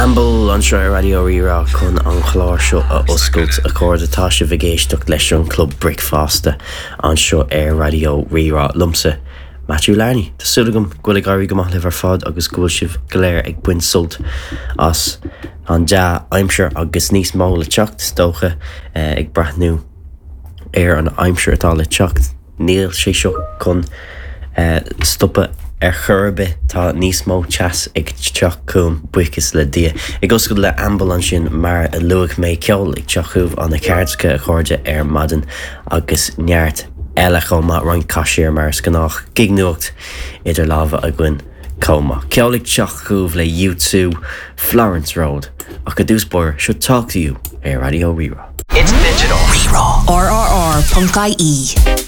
Amble anseo ar Raidió Rí-Rá chun an clár seo a oscailt. A chairde, tá sibh ag éisteacht leis an Club Bricfeasta anseo ar Raidió Rí-Rá. Liomsa, Matthew Larney. Tá súil agam go bhfuil ag éirí go maith libh ar fad agus go bhfuil sibh go léir ag baint sult as an dea-aimsir agus níos mó le teacht, is dócha, ag breathnú ar an aimsir atá le teacht. Níl sé seo chun stopadh ar chor ar bith, tá níos mó teas ag teacht chugam, buíochas le Dia. Ag oscailt le Amble ansin mar a luaigh mé, ceol ag teacht chugaibh ó na cairdeacha, a chairde, ar maidin agus neart eile chomh maith, roinnt caisiar mar is gnách, gig-nuacht idir lámha againn chomh maith. Ceol ag teacht chugaibh le U2, Florence Road, ach i dtús báire, seo Talk to You ar Raidió Rí-Rá. It's digital. Rí-Rá. RRR.ie.